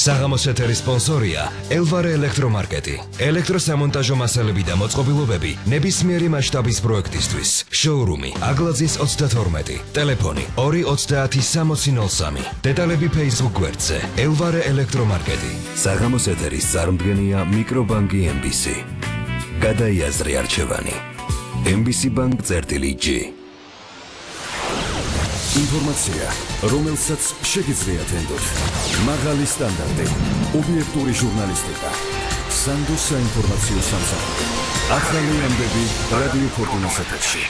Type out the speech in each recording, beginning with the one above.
საღამოს ეთერის სპონსორია ელვარე ელექტრომარკეტი. ელექტროსამონტაჟო მასალები და მოწყობილობები ნებისმიერი მასშტაბის პროექტისთვის. შოურუმი აგლაძის 32. ტელეფონი 2306003. დეტალები Facebook გვერდზე ელვარე ელექტრომარკეტი. საღამოს ეთერის წარმდგენია მიკრობანკი MBC. გადაიაზრე არჩევანი. MBC Bank-G. ინფორმაცია, რომელსაც შეგიძლიათ ენდოთ. მაღალი სტანდარტი, ობიექტური ჟურნალისტიკა. სანდოს საინფორმაციო სამსახური. ახალი ამბები რადიო ფორტუნას ეთერში.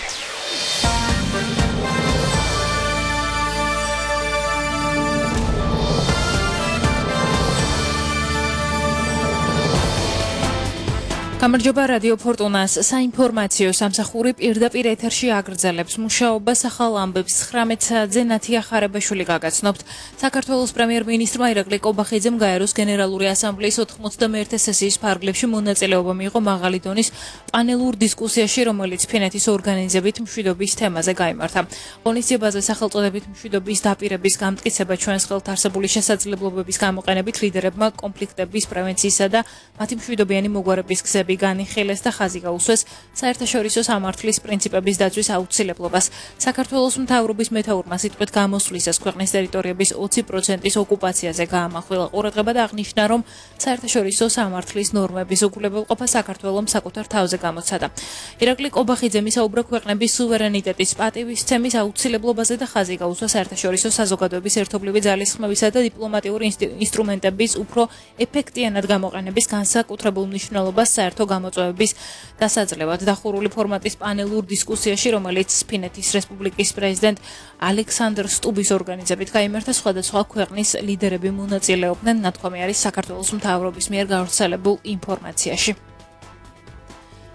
გამარჯობა რადიო ფორტუნას საინფორმაციო სამსახური პირდაპირ ეთერში აგრძელებს მუშაობას ახალ ამბებს 19 საათზე ნათია ხარებაშვილი გაგაცნობთ. საქართველოს პრემიერ-მინისტრმა ირაკლი კობახიძემ გაეროს გენერალური ასამბლეის 91 სესიის ფარგლებში მონაწილეობა მიიღო მაღალი დონის პანელურ დისკუსიაში, რომელიც ფინეთის ორგანიზებით მშვიდობის თემაზე გაიმართა. ღონისძიებაზე სახელწოდებით მშვიდობის დაპირების გამტკიცება ჩვენს ხელთ არსებული შესაძლებლობების გამოყენებით ლიდერებმა კონფლიქტების პრევენციისა და მათი მშვიდობიანი მოგვარების გზები განიხილეს და ხაზი გაუსვეს საერთაშორისო სამართლის პრინციპების დაცვის აუცილებლობას. საქართველოს მთავრობის მეთაურმა სიტყვით გამოსვლისას ქვეყნის ტერიტორიების 20%-ის ოკუპაციაზე გაამახვილა ყურადღება და აღნიშნა, რომ საერთაშორისო სამართლის ნორმების უგულებელყოფა საქართველოს საკუთარ თავზე გამოცადა. ირაკლი კობახიძემ ისაუბრა ქვეყნების სუვერენიტეტის პატივისცემის აუცილებლობაზე და ხაზი გაუსვა საერთაშორისო საზოგადოების ერთობლივი ძალისხმევისა და დიპლომატიური ინსტრუმენტების უფრო ეფექტიანად გამოყენების განსაკუთრებულ მნიშვნელობას საერთო გამოწვევების დასაძლევად. დახურული ფორმატის პანელურ დისკუსიაში, რომელიც ფინეთის რესპუბლიკის პრეზიდენტ ალექსანდრ სტუბის ორგანიზებით გაიმართა, სხვადასხვა ქვეყნის ლიდერები მონაწილეობდნენ. ნათქვამი არის საქართველოს მთავრობის მიერ გავრცელებულ ინფორმაციაში.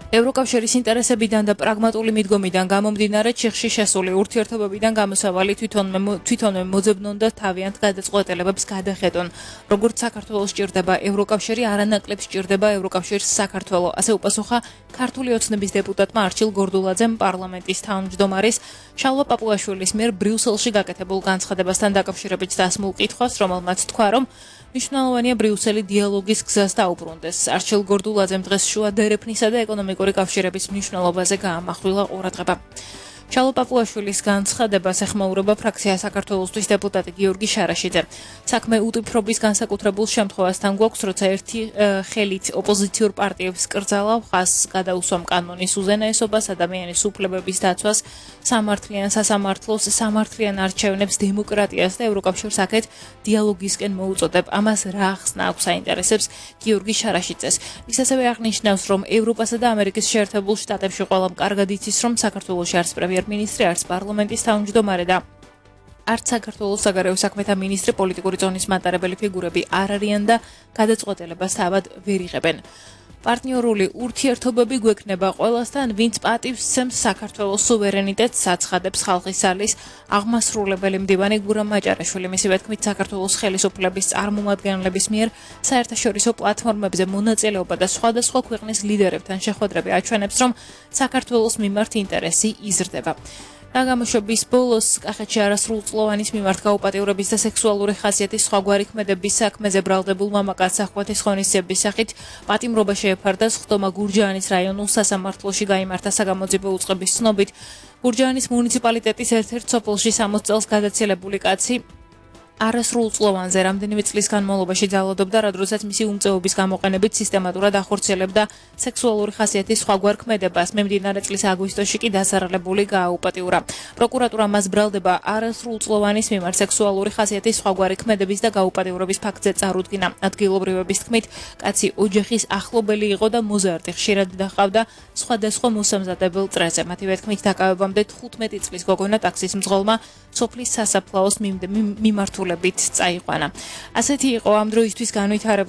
ევროკავშირის ინტერესებიდან და პრაგმატული მიდგომიდან გამომდინარე ჩიხში შესული ურთიერთობებიდან გამოსავალი თვითონვე მოძებნონ და თავიანთ გადაწყვეტილებებს გადახედონ. როგორც საქართველოს სჭირდება ევროკავშირი, არანაკლებ სჭირდება ევროკავშირს საქართველო. ასე უპასუხა ქართული ოცნების დეპუტატმა არჩილ გორდულაძემ პარლამენტის თავმჯდომარის შალვა პაპუაშვილის მიერ ბრიუსელში გაკეთებულ განცხადებასთან დაკავშირებით დასმულ კითხვას, რომელმაც თქვა, რომ მნიშვნელოვანია ბრიუსელი დიალოგის გზას დაუბრუნდეს. არჩილ გორდულაძემ დღეს შუა დერეფნისა და ეკონომიკური კავშირების მნიშვნელობაზე გაამახვილა ყურადღება. შალვა პაპუაშვილის განცხადებას ეხმაურება ფრაქცია საქართველოსთვის დეპუტატი გიორგი შარაშიძე. საქმე უტიფრობის განსაკუთრებულ შემთხვევასთან გვაქვს, როცა ერთი ხელით ოპოზიციურ პარტიებს კრძალავ ხაზს გადაუსვამ კანონის უზენაესობას, ადამიანის უფლებების დაცვას, სამართლიან სასამართლოს, სამართლიან არჩევნებს, დემოკრატიას და ევროკავშირს აქეთ დიალოგისკენ მოუწოდებ. ამას რა ახსნა აქვს საინტერესებს გიორგი შარაშიძეს. ის ასევე აღნიშნავს, რომ ევროპასა და ამერიკის შეერთებულ შტატებში ყველამ კარგად იცის, რომ საქართველოში არც პრემიერ-მინისტრი, არც პარლამენტის თავმჯდომარე და არც საქართველოს საგარეო საქმეთა მინისტრი პოლიტიკური ზონის მატარებელი ფიგურები არ არიან და გადაწყვეტილებას თავად ვერ იღებენ. პარტნიორული ურთიერთობები გვექნება ყველასთან, ვინც პატივს სცემს საქართველოს სუვერენიტეტს, აცხადებს ხალხის სალის აღმასრულებელი მდივანი გურამ მაჭარაშვილი. მისივე თქმით, საქართველოს ხელისუფლების წარმომადგენლების მიერ საერთაშორისო პლატფორმებზე მონაწილეობა და სხვადასხვა ქვეყნის ლიდერებთან შეხვედრები აჩვენებს, რომ საქართველოს მიმართ ინტერესი იზრდება. გამოსვების ბოლოს კახეთში არასრულწლოვანის მიმართ გაუპატიურების და სექსუალური ხასიათის სხვაგვარი ქმედების საქმეზე ბრალდებულ მამაკაცს ახღვეთის ღონისძიების სახით პატიმრობა შეეფარდა. სხდომა გურჯაანის რაიონულ სასამართლოში გაიმართა საგამოძიებო უწყების ცნობით. გურჯაანის მუნიციპალიტეტის ერთ-ერთ სოფელში 60 წელს გადაცილებული კაცი არასრულწლოვანზე რამდენიმე წლის განმავლობაში ძალადობდა, რადგანაც მისი უმწეობის გამოყენებით სისტემატურად ახორციელებდა სექსუალური ხასიათის სხვაგვარ ქმედებას. მიმდინარე წლის აგვისტოში კი დასარალებული გააუპატიურა. პროკურატურა მას ბრალდება არასრულწლოვანის მიმართ სექსუალური ხასიათის სხვაგვარი ქმედების და გაუპატიურების ფაქტზე წარუდგინა. ადგილობრივების თქმით, კაცი ოჯახის ახლობელი იყო და მოზარდი, ხშირად დაჰყავდა სხვადასხვა მოსამზადებელ წრეზე. მათივე თქმით, დაკავებამდე 15 წლის გოგონა ტაქსის მძღოლმა სოფლის სასაფლაოს მიმართულებით წაიყვანა. ასეთი იყო ამ დროისთვის განვითარებული